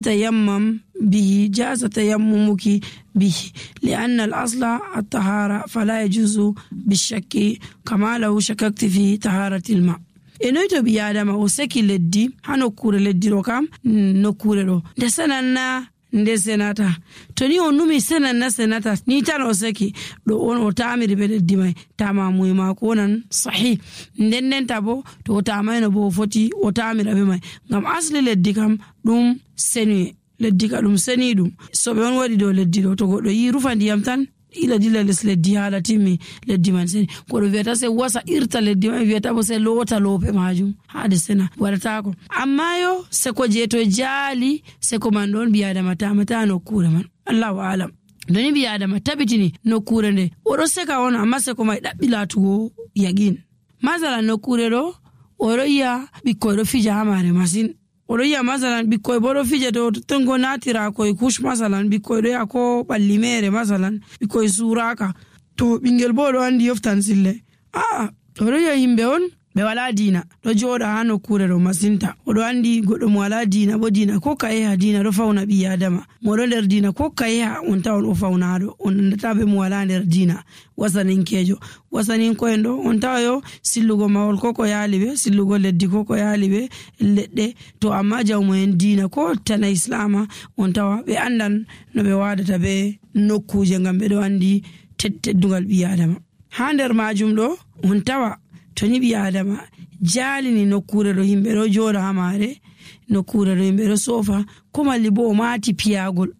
تيمم به جاز تيممك به لأن الأصل الطهارة فلا يجوز بالشك كما لو شككت في طهارة الماء. enoyto bi adama o seki leddi hanokure leddi ro kam nokure ro nde sananna nde senata to ni on numi senanna senata ni tan o seki do on o tamiri be leddi mai tama muy ma ko nan sahih nden tabo to o tamayno bo foti o tamira be mai ngam asli leddi kam dum seni leddi ka dum seni dum so be on wadi do leddi do to goddo yi rufa ndiyam tan ila dilla les leddi hala timmi leddi man seni ko do viata se wasa irta leddi man viata bo se lota lope majum hade sena warata ko amma yo se ko je to jali se ko man don biya mata no kure man Allahu alam doni biya dama tabitini no kure nde o do se ka won amma se ko mai dabbilatugo yagin mazala no kure do o ro ya bikko do fija hamare masin odo ya masalan bikkoy bodo fije to tongo natira koy kush masalan bikkoy do ya ko ballimere masalan bikkoy suraka to bingel bodo andi yoftan sille odo ya himbe on be wala dina do joda hano kure do masinta odo andi goddo mo wala dina bo dina ko kay ha dina do fauna bi adama mo do der dina ko kay ha on tawon o faunado on ndatabe mo wala der dina wasanin kejo wasanin ko endo on tawayo sillugo mawol koko yalibe sillugo leddi koko yalibe ledde to amma jawmo en dina ko tan islama on tawa be andan no be wadata be nokkuje ngam be do andi teddugal bi adama ha der majum do on tawa to ni bi adama jalini nokkure do himbe do joda hamare nokkure do himbe do sofa ko malli bo mati piyagol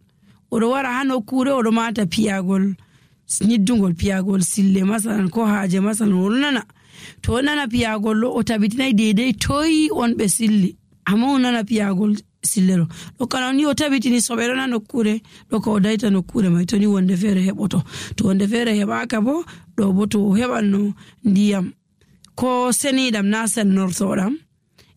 odo wara ha nokkure odo mata piyagol niddungol piyagol sille masalan ko haaje masalan wonnana to nana piyagol o tabitinay deedey toyi on be silli amma nana piyagol sillero do kana ni o tabitini sobero na nokkure do ko dayta nokkure mai to ni wonde fere heboto to wonde fere hebaka bo do bo to hebanno ndiyam ko senidam na sennortodam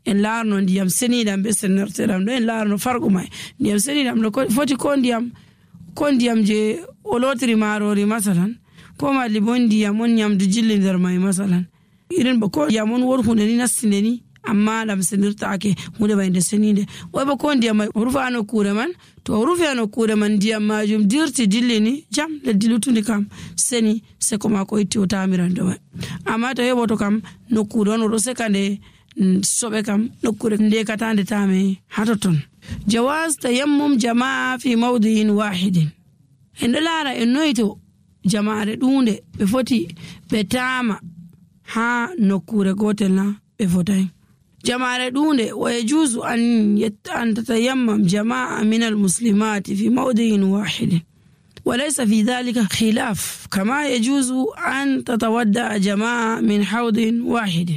en larno ndiyam senidam be sennortodam do en larno farqu mai ndiyam senidam do foti ko ndiyam je o lotiri marori masalan ko mali bon ndiyam on nyamdu jilli nder mai masalan irin ba ko ndiyam on wor hunde ni nasinde ni amma lam senirtaake hunde bayde senide o ba ko ndiyam mai rufano kure man to rufano kure man ndiyam majum dirti dillini jam le dilutuni kam seni se ko ma ko itti o tamirando mai amma to heboto kam no kure on do sekande sobe kam no kure nde katande tame hatoton jawaz tayammum jamaa fi mawdi'in wahidin en lara en noyto jamaare dunde be foti be tama ha nokure gotel na be fotay jamaare dunde wa yajuzu an tatayammam jamaa min almuslimati fi mawdi'in wahidin وليس في ذلك خلاف كما يجوز أن تتودع جماعة من حوض واحد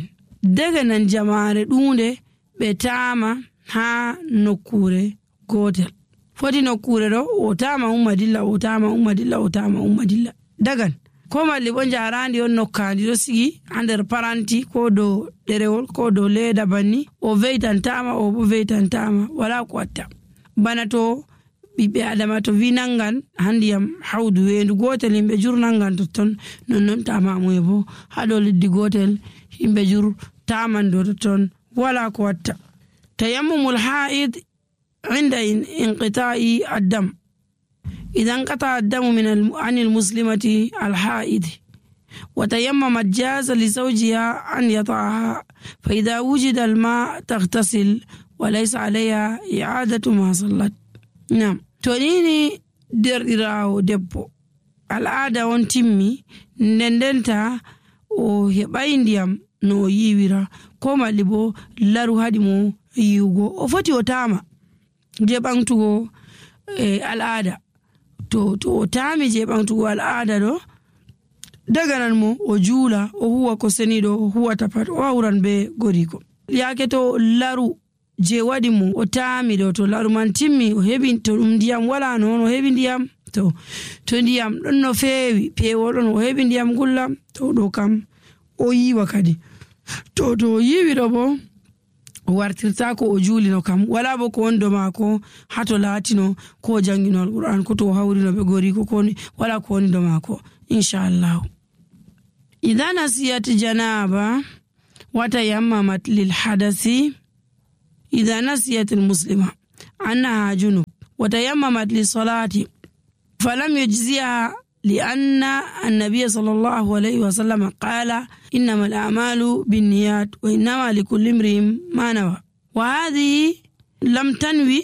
دغنا جماعة دونde betama ha nokure gotel foti nokure do o tama ummadilla dagan ko malli bon jarandi on nokkandi do sigi ander paranti ko do derewol ko do leda banni o veitantama o bo veitantama wala ko watta bana to bibe adama to vinangan handiyam hawdu wendu gotel himbe jurnangan ton non tama moyebo hado liddi gotel himbe jur tamando ton wala ko watta tayammumul haid inda inqita'i ad-dam إذا انقطع الدم عن المسلمة الحائض وتيممت جاز لزوجها أن يطعها فإذا وجد الماء تغتسل وليس عليها إعادة ما صلت. نعم تونيني ديراو دبو العادة وانتمي نندنتا o heɓay ndiyam no yiwira ko malli bo laru hadi mo yiwugo o foti o tama je ɓantugo al'ada to o tami je ɓantugo al'ada do daganan mo o juula o huwa ko seniɗo o huwata pat o hawran be goriko yake to laru je waɗi mo o tami ɗo to laru man timmi o heɓi to ɗum ndiyam wala noon o heɓi ndiyam to ndiyam ɗon no feewi pewol ɗon o heɓi ndiyam gullam to ɗo kam o yiwa kadi to o yiwi ɗo bo o wartirta ko o juulino kam wala bo ko wondo mako hato latino ko jangino alquran ko to hawrino be gori ko koni wala ko wondo mako inshallah. idha nasiyat janaba wa tayammamat lil hadasi idha nasiyat al muslima أنها جنب وتيممت للصلاة فلم يجزيها لأن النبي صلى الله عليه وسلم قال إنما الأعمال بالنيات وإنما لكل امرئ ما نوى. وهذه لم تنوي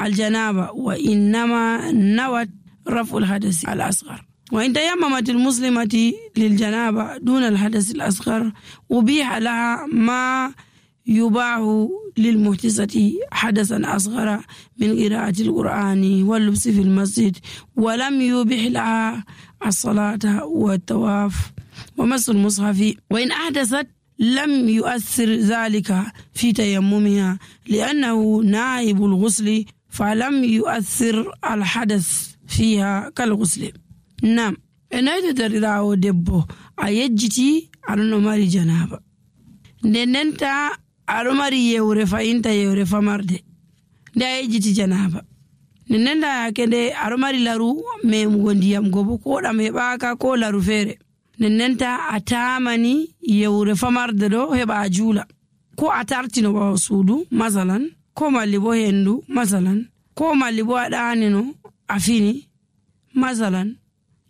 الجنابة وإنما نوت رفع الحدث الأصغر. وإن تيممت المسلمة للجنابة دون الحدث الأصغر أبيح لها ما يباح للمحدثة حدثا أصغر من قراءة القرآن واللبس في المسجد، ولم يبيح لها الصلاة والطواف ومس المصحف. وإن أحدثت لم يؤثر ذلك في تيممها لأنه نائب الغسل فلم يؤثر الحدث فيها كالغسل. نعم إنه تدريراو دبو أيجتي أرنو ماري جنابة ننتا أرماري يوري فإنتا يوري فمارد دا أيجتي جنابة ننتا كده أرماري لارو ميمغنديام غوبو كودا ميباكا كو لارو فيري ننتا أتامني يوري فمارد دو هبا جولا كو أتارتينو باو سودو مثلا كو ماليبو هندو مثلا كو ماليبو أدانينو أفيني مثلا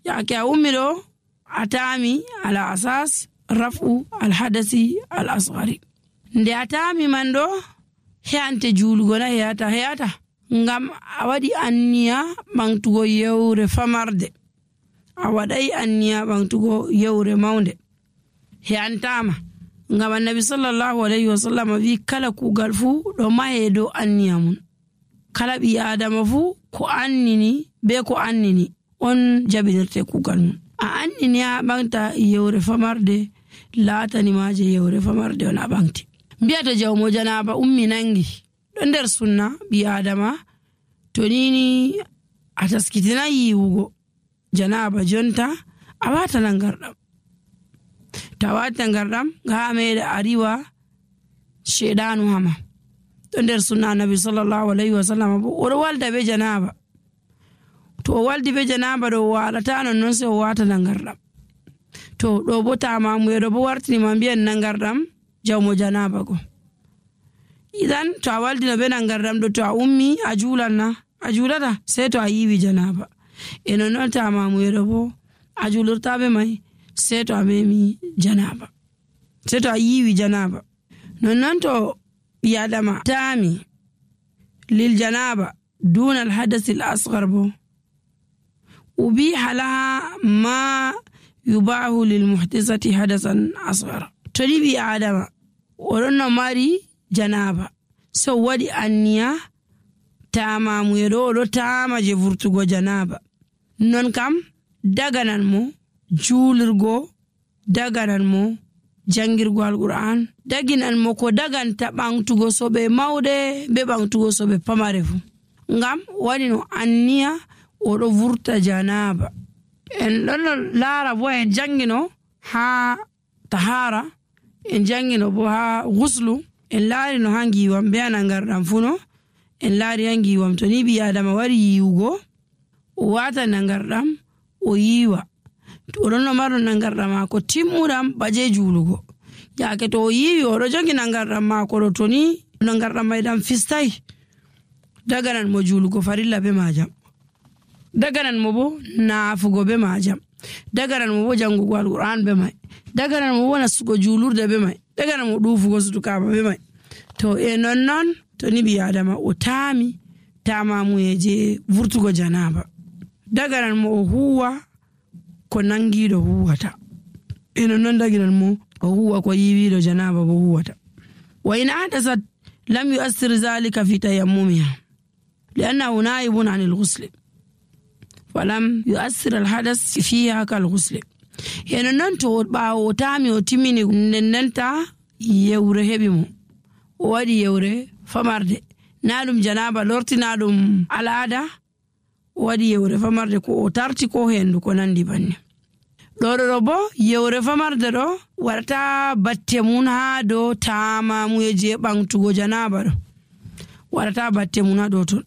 yake umiro atami ala asas rafu alhadasi al-asghari nde atami mando heante julugona heyata ngam awadi anniya bangtugo yewre famarde awadai anniya bangtugo yewre maunde heantama ngam annabi sallallahu alaihi wasallam vi kala kugal fu do mahedo anniya mun kala bi adama fu ko annini be ko annini on jabinirte kugal mun a annini a bangta yewre famarde laatani maje yewre famarde on a bangti mbiyata jawmo janaba ummi nangi do nder sunna bi adama to nini a taskitina yiwugo janaba jonta a wata nangardam tawata ngardam ga meede ariwa shedanu hama do nder sunna nabi sallallahu alaihi wasallam o walda be janaba to waldi be janaba do walata non se o wata nangardam to do botama mu do bo wartini ma biyan nangardam jawmo janaba go idan to waldi no be nangardam do to ummi a julata sai to a yiwi janaba eno non tama mu do bo a julurta be mai sai to a memi janaba sai to a yiwi janaba non to biyadama tami lil janaba دون الحدث الأصغر بو أبيح لها ما يباح للمحدثة حدثا أصغر تريبي آدم ورنا ماري جنابة سوادي أنيا تاما ميرولو تاما جفرتو جنابة نون كم دغنان مو جولرغو دغنان مو jangirgo alquran daginan mo ko daganta bangtugo sobe mawde be bangtugo sobe pamare fu ngam wadi no anniya o do vurta janaba en don lara bo en jangino ha tahara en jangino bo ha ghuslu en laari no hangi wam be anangardam funo en laari hangi wam to ni bi adama wari yiwugo o wata nangardam o yiwa to don no maro nangardam ko timmuram baje julugo yaake to yiwi o do jongi nangardam ko do toni nangardam maydam fistai daganan mo julugo farilla be majam daganan mo bo naafugo be majam daganan mo bo jangugo alquran be mai daganan mo wona sugo julurde be mai daganan mo dufugo sutukaba be mai to e non to ni bi adama o tama mu yeje vurtugo janaba daganan mo huwa ko nangido huwata e non daganan mo o huwa ko yiwido janaba bo huwata wa in adasat lam yu'assir zalika fi tayammumiha لأنه نائب عن الغسل فلم يؤثر الحدث فيها كالغسل يعني ننتو باو تامي وتميني ننتا يوري هبيمو وادي يوري فمرد نالم جنابة لورتي نالم العادة وادي يوري فمرد كو تارتي كو هندو كو نندي بني لورو يوري فمرد رو ورتا باتمون هادو تاما مويجي بانتو جنابة رو ورتا باتمون هادو تون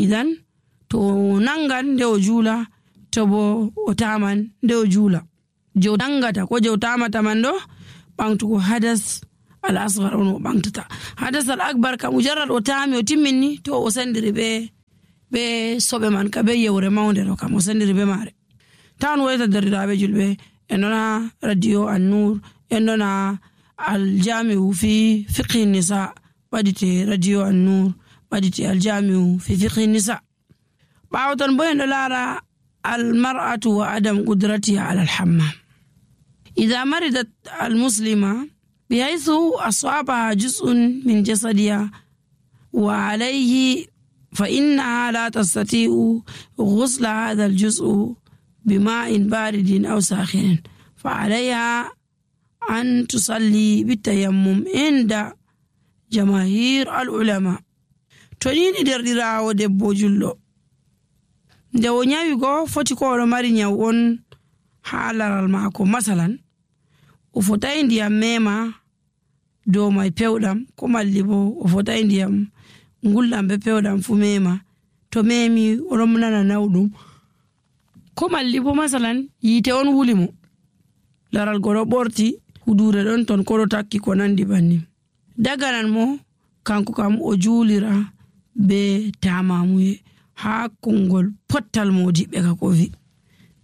idan to nangan de o jula to bo o taman de o jula je dangata ko je o tamata man do bangtugo hadas al asghar on o ɓamtata. hadas al akbar kam mujarrad o taami o timminni to o sendiri be soɓe man ka be yewre mawnde ɗo kam o sendiri be maare. tawan woyta derdiraaɓe julɓe en ɗona radio An-Nur, en ɗona aljamiu fi fiqhi nisa ɓadite radio An-Nur, ɓadite aljamiu fi fiqhi nisa. ɓaawo ton bo en ɗo laara almar'atu wa adam qudratiha ala alhammam. idha maridat almuslima bihaythu asabaha juz'un min jasadiha wa alayhi fa innaha la tastati'u ghusla hadha aljuz'u bima'in baridin aw sakhinin fa alayha an tusalli bitayammum inda jamahir alulama. to ni derɗirawo debbo julɗo nde o nyawi go foti ko oɗo mari nyaw on ha laral maako, masalan o fotai ndiyam mema dow mai pewɗam, ko malli bo o fotai ndiyam ngulɗam be pewɗam fu mema. to memi oɗon nana nawɗum, ko malli bo masalan yite on wuli mo, laral go ɗo ɓorti, hudure ɗon ton ko ɗo takki ko nandi banni, daganan mo kanko kam o juulira be tamamuye ha kongol pottal modiɓɓe ka ko vi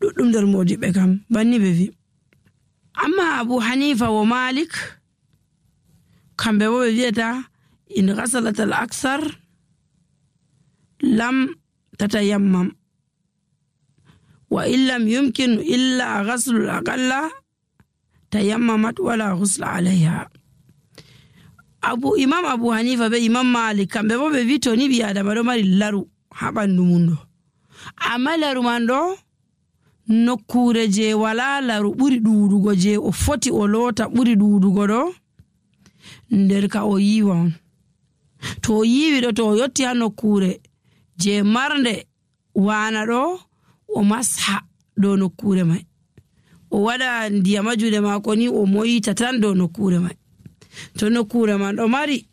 ɗuɗɗum nder modiɓɓe kam banni ɓe vi. amma Abu Hanifa wa Malik kamɓe bo ɓe wiyata in ghasalat al aksar lam tatayammam wa illam yumkin illa ghaslu al aqalla tayammamat wala ghusla alayha. Imam Abu Hanifa be Imam Malik kamɓe bo ɓe wi to ni ɓi adama ɗo mari laru ha ɓandu mum ɗo, amma laru man ɗo nokkure je wala laru ɓuri ɗuɗugo je o foti o loota ɓuri ɗuɗugo ɗo nder ka o yiwa on. to o yiwi ɗo, to o yotti ha nokkure je marnde wana ɗo, o masha dow nokkure mai, o waɗa ndiyama juɗe mako ni o moyita tan dow nokkure mai. to nokkure man ɗo mari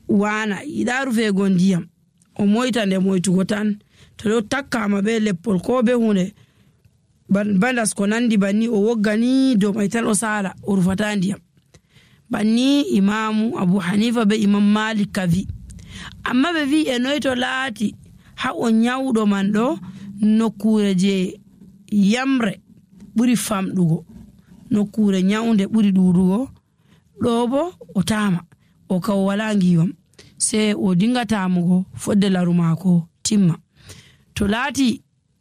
wana yiɗa rufego ndiyam, o moyta nde moytugo tan. to ɗo takkama be leppol ko be hunde bandas ko nandi banni, o woggani dow mai tan o sala, o rufata ndiyam. banni Imamu Abu Hanifa be Imam Malik kavi. amma ɓe vi e noy to laati ha o nyawɗo man ɗo nokkure je yamre ɓuri famɗugo, nokkure nyawnde ɓuri ɗuɗugo ɗo bo o tama, o ka o wala ngiwam, sai o dinga tamugo fodde laru mako timma. to laati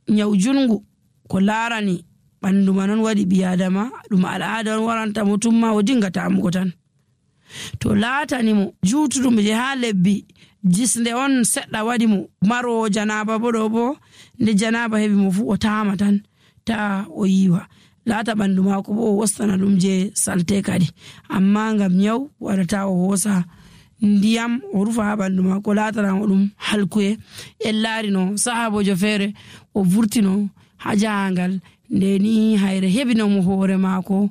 nyaw jungu ko larani ɓandu man on waɗi ɓi adama, ɗum al'ada on waranta mo tumma, o dinga tamugo tan. to laatani mo jutuɗum je ha lebbi jisnde on seɗɗa waɗi mo marowo janaba bo ɗo bo nde janaba heɓi mo fu o tama tan ta o yiwa, laata ɓandu mako bo o wostana ɗum je salte kadi. amma ngam nyaw waɗata o hosa ndiyam o rufa ha ɓandu mako, laatanamo ɗum halkuye. en laari no sahabojo feere o vurtino ha jahangal nde ni hayre heɓinomo hoore mako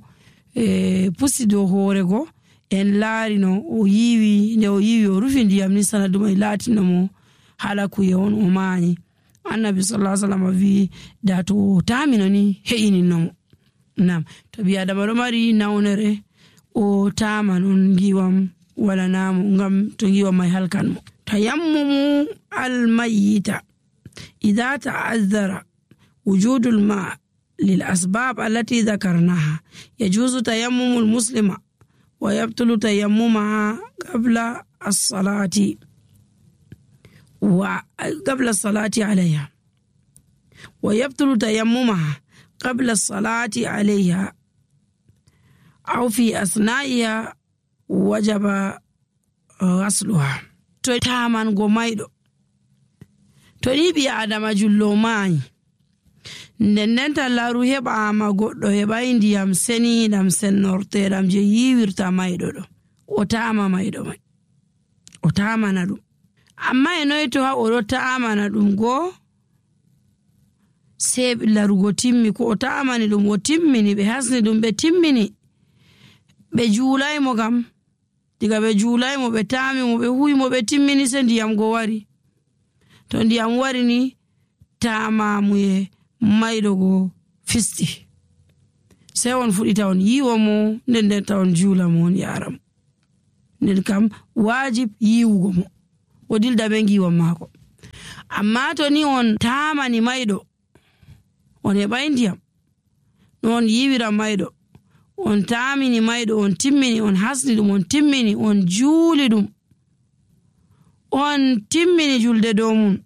pusi dow hoore go. en laari no o yiwi, nde o yiwi o rufi ndiyam ni sanadu mai laatinomo halakuye on, o maani. annabi sallallahu alaihi wasallam wi da to tamino ni he'ininomo. nam to ɓi adama ɗo mari nawnere o tama non ngiwam wala namo, ngam to ngiwam mai halkan mo. tayammumu almayyita idha ta'azzara wujudul ma lil asbab allati dhakarnaha yajuzu tayammumu almuslima wa yabtulu tayammumaha qabla as-salati وقبل الصلاة عليها ويبطل تيممها قبل الصلاة عليها أو في أثنائها وجب غسلها. to taman go mayɗo to ni ɓi adama jullo mayi nden tan laru heɓama goɗɗo heɓai ndiyam seniɗam sennorteɗam je yiwirta mayɗo ɗo, o tama mayɗo mai, o tamana ɗum. amma e noy to ha oɗo ta'amana ɗum go sei larugo timmi, ko o ta'amani ɗum o timmini, ɓe hasni ɗum ɓe timmini, ɓe juulaymo kam, diga ɓe juulaymo ɓe tamimo ɓe huymo ɓe timmini, se ndiyam go wari. to ndiyam wari ni tamamuye mayɗo go fisti. sey on fuɗita on yiiwo mo nden ta on juula mo on yaara mo. Nden kam waajib yiiwugo mo o dilda be ngiiwon maako. Amma to ni on taamani mayɗo on heɓay ndiyam no on yiiwiran mayɗo, on taamini mayɗo, on timmini, on hasni ɗum, on timmini, on juuli ɗum, on timmini julde dow mum,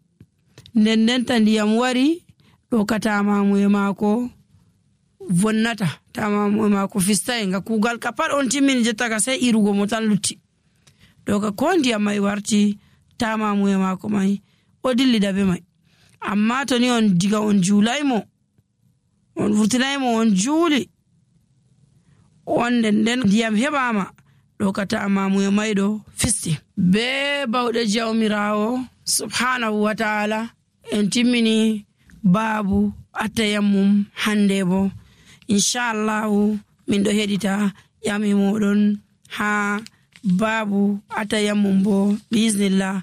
nden ta ndiyam wari ɗo ka taamamuye maako vonnata, taamamuye maako fistay nga kuugal ka pat on timmini jotta ka sey irugo mo tan lutti. Ɗo ka ko ndiyam may warti taamamuye maako may o dillida be may. Amma to ni on diga on juulaymo, on vurtinaymo on juuli, on nden ndiyam heɓama ɗo ka taamamuye mayɗo fisti. Be bawɗe jawmirawo subhanahu wa ta'ala en timmini baabu attayammum hande bo inchallahu min ɗo heɗita ƴami moɗon ha baabu attayammum bo biiznillah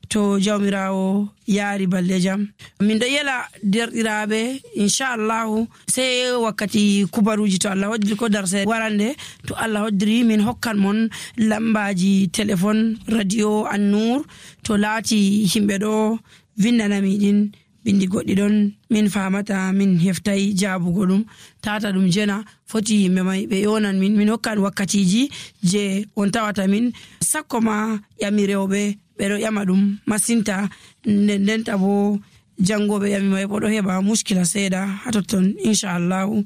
to jawmirawo yaari balɗe jam. Min ɗo yela derɗiraɓe inchallahu sey wakkati kubaruji to Allah hoddiri ko darse warande to Allah hoddiri min hokkan mon lambaji téléphone radio An-Nur to laati himɓe ɗo vindanami ɗin bindi goɗɗi ɗon min famata min heftay jaabugo ɗum tata ɗum jena foti yimɓe may ɓe yonan min hokkan wakkatiji je on tawata min sakko ma ƴami rewɓe ɓeɗo ƴama ɗum masinta ndenta bo jangoɓe ƴami may bo ɗo heɓa muskila seeɗa ha totton inchallahu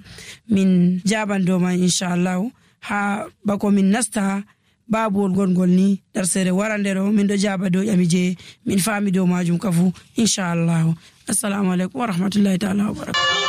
min jaban dow man inchallahu ha bako min nasta babuwol gongol ni darsere warande ɗo min ɗo jaba dow ƴami je min faami dow majum kafu inchallahu. Assalamu alaikum wa rahmatullahi ta'ala wa barakatuh.